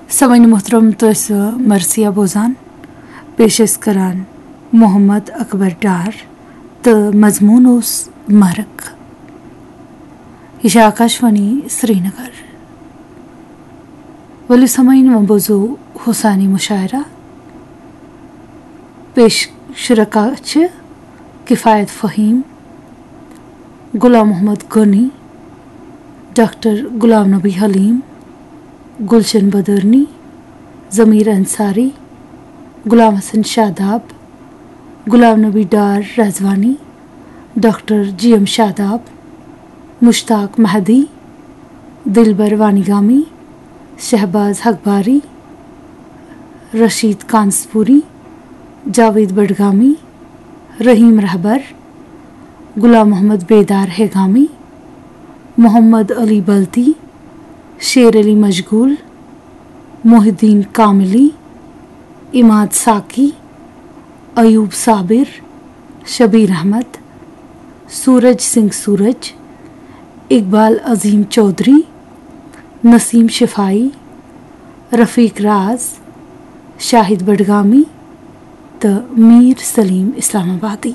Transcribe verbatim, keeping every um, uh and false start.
سامعین محترم، تُہۍ ٲسِو مرثیہ بوزان۔ پیش ٲسۍ کران محمد اکبر ڈار تہٕ مضموٗن اوس مرک۔ یہِ چھِ آکاشوانی سرینگر۔ ؤلِو سامعین، وۄنۍ بوزو حسانی مشاعرہ۔ پیش شرکا چھِ کفایت فہیم، غلام محمد غنی، ڈاکٹر غلام نبی حلیم، گلشن بدرنی، ضمیر انصاری، غلام حسن شاداب، غلام نبی Dar Rizwani, doctor G M شاداب، مشتاق مہدی، دلبر وانیگامی، شہباز حقباری، رشید کانسپوری، جاوید بڈگامی، رحیم رہبر، غلام محمد بیدار ہیگامی، محمد علی بلتی، شیر علی مشغول، محی الدین کاملی، عماد ساقی، ایوب صابر، شبیر احمد، سورج سنگھ سورج، اقبال عظیم چودھری، نسیم شفاعی، رفیق راز، شاہد بڈگامی تہٕ میر سلیم اسلام آبادی۔